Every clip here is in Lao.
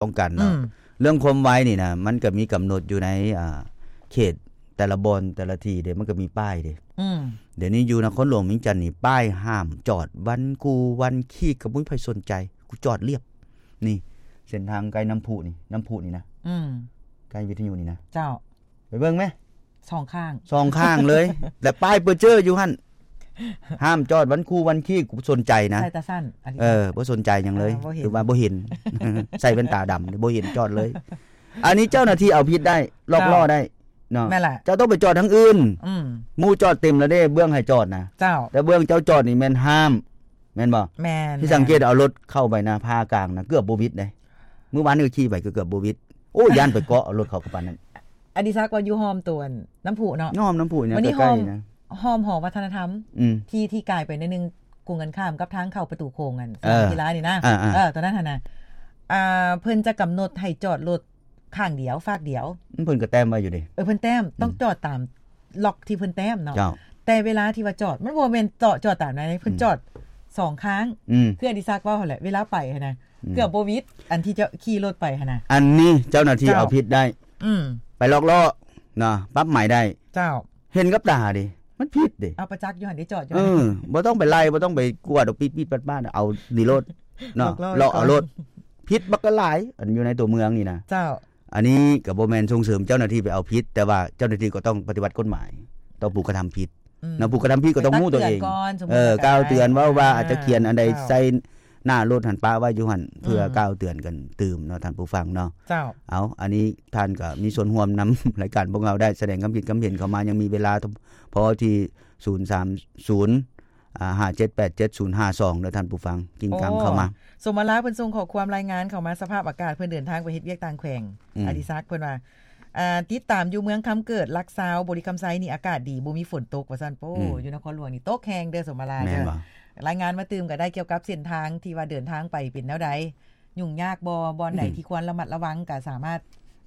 ປ້ອງກັນເນາະ. ອືມ ເລື່ອງຄວາມໄວນີ້ນະ ມັນກໍມີກຳນົດຢູ່ໃນ ອ່າ ເຂດແຕ່ລະບ່ອນແຕ່ລະທີ່ເດ້ ມັນກໍມີປ້າຍເດ້. ອືມ ດຽວນີ້ຢູ່ນະຄອນຫຼວງວຽງຈັນນີ້ ປ້າຍຫ້າມຈອດວັນຄູວັນຄີກ ກໍບໍ່ມີໃຜສົນໃຈ ກູຈອດລຽບ. ນີ້ເສັ້ນທາງໃກ້ນ້ຳພຸນີ້ ນ້ຳພຸນີ້ນະ. ອືມ ໃກ້ວິທະຍຸນີ້ນະ. ເຈົ້າ ໄປເບິ່ງແມະ ສອງຂ້າງ ສອງຂ້າງເລີຍ ແລະປ້າຍເປີເຈີຢູ່ຫັ້ນ ຫ້າມຈອດວັນຄູວັນຄີກ ກູບໍ່ສົນໃຈນະ. ໃສ່ຕາສັ້ນ ອັນນີ້ ເອີ ບໍ່ສົນໃຈຫຍັງເລີຍ. ເອີ ບໍ່ເຫັນ ຄືວ່າບໍ່ເຫັນ ໃສ່ແວ່ນຕາດຳ ບໍ່ເຫັນຈອດເລີຍ. ອັນນີ້ເຈົ້າໜ້າທີ່ເອົາຜິດໄດ້ ລັອກລໍ້ໄດ້ເນາະ. ແມ່ນລະ ເຈົ້າຕ້ອງໄປຈອດທາງອື່ນ. ອືມ ໝູ່ຈອດເຕັມແລ້ວເດ້ ເບື້ອງໃຫ້ຈອດນະ. ເຈົ້າ ແຕ່ເບື້ອງເຈົ້າຈອດນີ້ແມ່ນຫ້າມ ແມ່ນບໍ່? ແມ່ນ ທີ່ສັງເກດເອົາລົດເຂົ້າໄປນະ ພາກາງນະ ເກືອບບໍ່ວິດເດ້. ມື້ວານນີ້ກໍຂີ່ໄປ ກໍເກືອບບໍ່ວິດ. ໂອ້ ຢ້ານໄປເກາະເອົາລົດເຂົາກໍປານນັ້ນ. ອະດິສັກວ່າຢູ່ຫ້ອມໂຕນນ້ຳພຸເນາະ ນ້ຳພຸນີ້ ໃກ້ໆນະ ຫ້ອມຫໍວັດທະນະທຳ ອືມ ທີ່ ທີ່ກາຍໄປໜ້ອຍໜຶ່ງ ກົງກັນຂ້າມກັບທາງເຂົ້າປະຕູໂຂງ ອັນ ເອີ ສະໜາມກິລານີ້ນະ. ເອີ ເອີ ເອີ ຕອນນັ້ນຫັ້ນນະ ອ່າ ເພິ່ນຈະກຳນົດໃຫ້ຈອດລົດຂ້າງດຽວ ຟາກດຽວ. ເພິ່ນກໍແຕ້ມໄວ້ຢູ່ເດ້. ເອີ ເພິ່ນແຕ້ມ ອືມ ຕ້ອງຈອດຕາມລັອກທີ່ເພິ່ນແຕ້ມເນາະ. ເຈົ້າ ແຕ່ເວລາທີ່ວ່າຈອດ ມັນບໍ່ແມ່ນເຈາະ ຈອດຕາມໃດ ເພິ່ນ ອືມ ຈອດສອງຂ້າງ. ອືມ ຄືອະດິສັກເວົ້າຫັ້ນແຫຼະ ເວລາໄປຫັ້ນນະ ອືມ ເກືອບບໍ່ວິດ ອັນທີ່ຈະຂີ່ລົດໄປຫັ້ນນະ. ອັນນີ້ເຈົ້າໜ້າທີ່ເອົາຜິດໄດ້. ອືມ ໄປລັອກລໍ້ເນາະ ປັບໃໝໄດ້. ເຈົ້າ ເຫັນກັບຕາເດ້ ມັນຜິດເດ້. ເອົາປະຈັກຢູ່ຫັ້ນເດ້ ຈອດຢູ່. ເອີ ບໍ່ຕ້ອງໄປໄລ່ ບໍ່ຕ້ອງໄປກວດເອົາ ປີດໆປາດໆ ເອົານີ້ໂລດເນາະ ລັອກລໍ້ ເລາະເອົາໂລດ. ຜິດບັກຫຼາຍ ອັນຢູ່ໃນຕົວເມືອງນີ້ນະ. ເຈົ້າ ອັນນີ້ກໍບໍ່ແມ່ນສົ່ງເສີມເຈົ້າໜ້າທີ່ໄປເອົາຜິດ ແຕ່ວ່າເຈົ້າໜ້າທີ່ກໍຕ້ອງປະຕິບັດກົດໝາຍຕໍ່ຜູ້ກະທຳຜິດ. ອືມ ນະ ຜູ້ກະທຳຜິດກໍຕ້ອງຮູ້ຕົວເອງ. ຕັກເຕືອນກ່ອນ ເອີ ກ່າວເຕືອນ ເວົ້າວ່າ ອ່າ ອາດຈະຂຽນອັນໃດ ເຈົ້າ ໃສ່ໜ້າລົດຫັ້ນ ປະໄວ້ຢູ່ຫັ້ນ ເພື່ອ ອືມ ກ່າວເຕືອນກັນຕື່ມເນາະ ທ່ານຜູ້ຟັງເນາະ. ເຈົ້າ ເອົາ ອັນນີ້ທ່ານກໍມີສ່ວນຮ່ວມນຳ ລາຍການພວກເຮົາໄດ້ ສະແດງຄຳຄິດຄຳເຫັນເຂົ້າມາ ຍັງມີເວລາພໍທີ່ ສູນສາມສູນ ອ່າ ຫ້າເຈັດແປດເຈັດສູນຫ້າສອງ ເດີທ່ານຜູ້ຟັງ ກິນກັງເຂົ້າມາ. ໂອ້ ສົມມາລາເພິ່ນສົ່ງຂໍ້ຄວາມລາຍງານເຂົ້າມາ ສະພາບອາກາດ ເພິ່ນເດີນທາງໄປເຮັດວຽກຕ່າງແຂວງ. ອືມ ອະດິສັກເພິ່ນວ່າ ອ່າ ຕິດຕາມຢູ່ເມືອງຄຳເກີດ ຫຼັກຊາວ ບໍລິຄຳໄຊນີ້ອາກາດດີ ບໍ່ມີຝົນຕົກ ວ່າຊັ້ນ. ໂອ້ ອືມ ຢູ່ນະຄອນຫຼວງນີ້ຕົກແຮງເດີ ສົມມາລາ. ແມ່ນບໍ່? ລາຍງານມາຕື່ມກໍໄດ້ ກ່ຽວກັບເສັ້ນທາງທີ່ວ່າເດີນທາງໄປເປັນແນວໃດ ຫຍຸ້ງຍາກບໍ່ ບ່ອນໃດ ອືມ ທີ່ຄວນລະມັດລະວັງ ກໍສາມາດ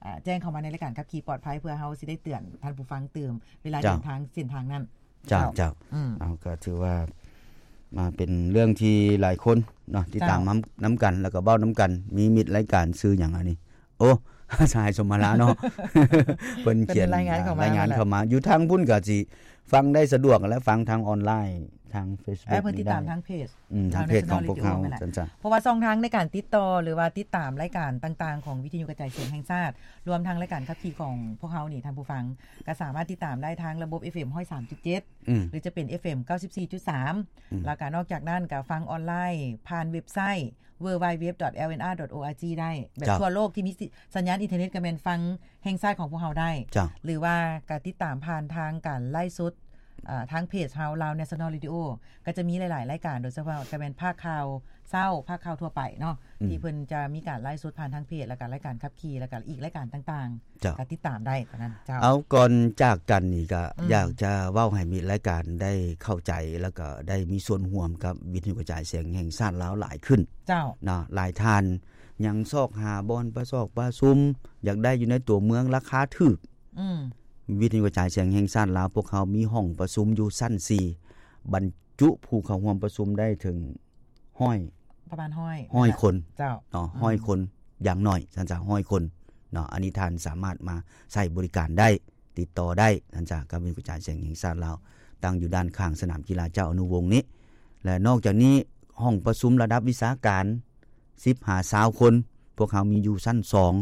ອ່າ ແຈ້ງເຂົ້າມາໃນລາຍການຂັບຂີ່ປອດໄພ ເພື່ອເຮົາຊິໄດ້ເຕືອນທ່ານຜູ້ຟັງຕື່ມ ເວລາ ເຈົ້າ ເດີນທາງເສັ້ນທາງນັ້ນ. ເຈົ້າ ເຈົ້າ ເຈົ້າ ອືມ ເອົາ ກໍຖືວ່າມາເປັນເລື່ອງທີ່ຫຼາຍຄົນເນາະ ຕິດຕາມ ເຈົ້າ ນຳ ນຳກັນ ແລ້ວກໍເວົ້ານຳກັນ. ມີມິດລາຍການຊື່ຫຍັງອັນນີ້? ໂອ້ ສະຫາຍສົມມາລາເນາະ ເພິ່ນຂຽນ ເພິ່ນລາຍງານເຂົ້າມາ ລາຍງານເຂົ້າມາ. ຢູ່ທາງພຸ້ນກໍຊິຟັງໄດ້ສະດວກ ແລະ ຟັງທາງອອນລາຍ ທາງເຟສບຸກ ເອີ ເພິ່ນຕິດຕາມ ໄດ້ ທາງເພຈ ອືມ ທາງເພຈຂອງພວກເຮົາ ເພຈຂອງພວກເຮົາ ຊັ້ນຊະ. ເພາະວ່າຊ່ອງທາງໃນການຕິດຕໍ່ ຫຼືວ່າຕິດຕາມລາຍການຕ່າງໆຂອງວິທະຍຸກະຈາຍສຽງແຫ່ງຊາດ ລວມທັງລາຍການຂັບຂີ່ຂອງພວກເຮົານີ້ ທ່ານຜູ້ຟັງກໍສາມາດຕິດຕາມໄດ້ທາງລະບົບ ເອັຟເອັມ ຮ້ອຍສາມຈຸດເຈັດ ອືມ ຫຼືຈະເປັນ ເອັຟເອັມ ເກົ້າສິບສີ່ຈຸດສາມ ອືມ ແລ້ວກໍນອກຈາກນັ້ນກໍຟັງອອນລາຍຜ່ານເວັບໄຊ ເວີ ດັບເບິນຢູ ດັບເບິນຢູ ດັບເບິນຢູ ດອດ ໂອ ອາ ຈີ ໄດ້ ແບບ ເຈົ້າ ທົ່ວໂລກທີ່ມີ ສ- ສັນຍານອິນເຕີເນັດກໍແມ່ນຟັງແຫ່ງຊາດຂອງພວກເຮົາໄດ້ ເຈົ້າ ຫຼືວ່າກໍຕິດຕາມຜ່ານທາງການໄລຟ໌ສົດ ເອີ ທາງເພຈເຮົາ Lao National Radio ກໍຈະມີຫຼາຍໆລາຍການ ໂດຍສະເພາະກໍແມ່ນພາກຂ່າວເຊົ້າ ພາກຂ່າວທົ່ວໄປເນາະ ອືມ ທີ່ເພິ່ນຈະມີການໄລຟ໌ສົດຜ່ານທາງເພຈ ແລ້ວກໍລາຍການຂັບຂີ່ ແລ້ວກໍອີກລາຍການຕ່າງໆ ເຈົ້າ ກໍຕິດຕາມໄດ້ເທົ່ານັ້ນ. ເຈົ້າ ເອົາ ກ່ອນຈາກກັນນີ້ກໍ ອືມ ຢາກຈະເວົ້າໃຫ້ມິດລາຍການໄດ້ເຂົ້າໃຈ ແລ້ວກໍໄດ້ມີສ່ວນຮ່ວມກັບວິທະຍຸກະຈາຍສຽງແຫ່ງຊາດລາວຫຼາຍຂຶ້ນ ເຈົ້າ ເນາະ. ຫຼາຍທ່ານຍັງຊອກຫາບ່ອນປະຊອກປະຊຸມ ຢາກໄດ້ຢູ່ໃນຕົວເມືອງລາຄາຖືກ ອືມ ວິທະຍຸກະຈາຍສຽງແຫ່ງຊາດລາວ ພວກເຮົາມີຫ້ອງປະຊຸມຢູ່ຊັ້ນສີ່ ບັນຈຸຜູ້ເຂົ້າຮ່ວມປະຊຸມໄດ້ເຖິງຮ້ອຍ ປະມານຮ້ອຍ ຮ້ອຍຄົນ ເຈົ້າ ເນາະ ອືມ ຮ້ອຍຄົນ ຢ່າງໜ້ອຍ ຊັ້ນຊະ ຮ້ອຍຄົນເນາະ. ອັນນີ້ທ່ານສາມາດມາໃຊ້ບໍລິການໄດ້ ຕິດຕໍ່ໄດ້ ທ່ານຈາກ ການວິທະຍຸກະຈາຍສຽງແຫ່ງຊາດລາວ ຕັ້ງຢູ່ດ້ານຂ້າງສະໜາມກິລາເຈົ້າອະນຸວົງນີ້ ແລະ ນອກຈາກນີ້ ຫ້ອງປະຊຸມລະດັບວິຊາການ ສິບຫາຊາວຄົນ ພວກເຮົາມີຢູ່ຊັ້ນສອງ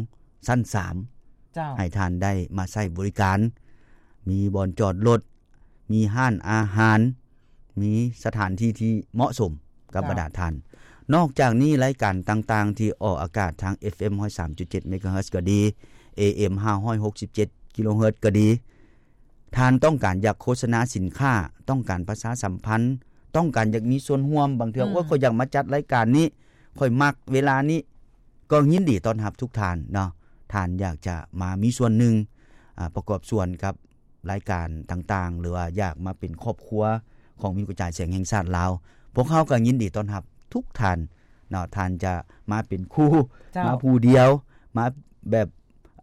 ຊັ້ນສາມ ເຈົ້າ ໃຫ້ທ່ານໄດ້ມາໃຊ້ບໍລິການ ມີບ່ອນຈອດລົດ ມີຮ້ານອາຫານ ມີສະຖານທີ່ທີ່ເໝາະສົມກັບ ເຈົ້າ ບັນດາທ່ານ. ນອກຈາກນີ້ ລາຍການຕ່າງໆທີ່ອອກອາກາດທາງ ເອັຟເອັມ ຮ້ອຍສາມຈຸດເຈັດ ເມກາເຮີດ ກໍດີ ເອເອັມ ຫ້າຮ້ອຍຫົກສິບເຈັດ ກິໂລເຮີດ ກໍດີ ທ່ານຕ້ອງການຢາກໂຄສະນາສິນຄ້າ ຕ້ອງການປະຊາສຳພັນ ຕ້ອງການຢາກມີສ່ວນຮ່ວມ ບາງເທື່ອ ອືມ ໂອ້ຍ ຂ້ອຍຢາກມາຈັດລາຍການນີ້ ຂ້ອຍມັກເວລານີ້ ກໍຍິນດີຕ້ອນຮັບທຸກທ່ານເນາະ. ທ່ານຢາກຈະມາມີສ່ວນໜຶ່ງ ອາ ປະກອບສ່ວນກັບ ລາຍການຕ່າງໆ ຫຼືວ່າຢາກມາເປັນຄອບຄົວຂອງວິທະຍຸກະຈາຍສຽງແຫ່ງຊາດລາວ ພວກເຮົາກໍຍິນດີຕ້ອນຮັບທຸກທ່ານເນາະ. ທ່ານຈະມາເປັນຄູ່ ເຈົ້າ ມາຜູ້ດຽວ ມາແບບ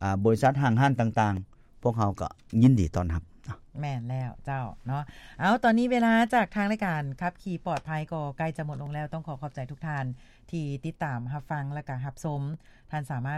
ອາ ບໍລິສັດຫ້າງຮ້ານຕ່າງໆ ພວກເຮົາກໍຍິນດີຕ້ອນຮັບ ແມ່ນແລ້ວເຈົ້າເນາະ. ເອົາ ຕອນນີ້ເວລາຈາກທາງລາຍການຂັບຂີ່ປອດໄພກໍໃກ້ຈະໝົດລົງແລ້ວ. ຕ້ອງຂໍຂອບໃຈທຸກທ່ານທີ່ຕິດຕາມຮັບຟັງ ແລະກະຮັບຊົມ. ທ່ານສາມາດ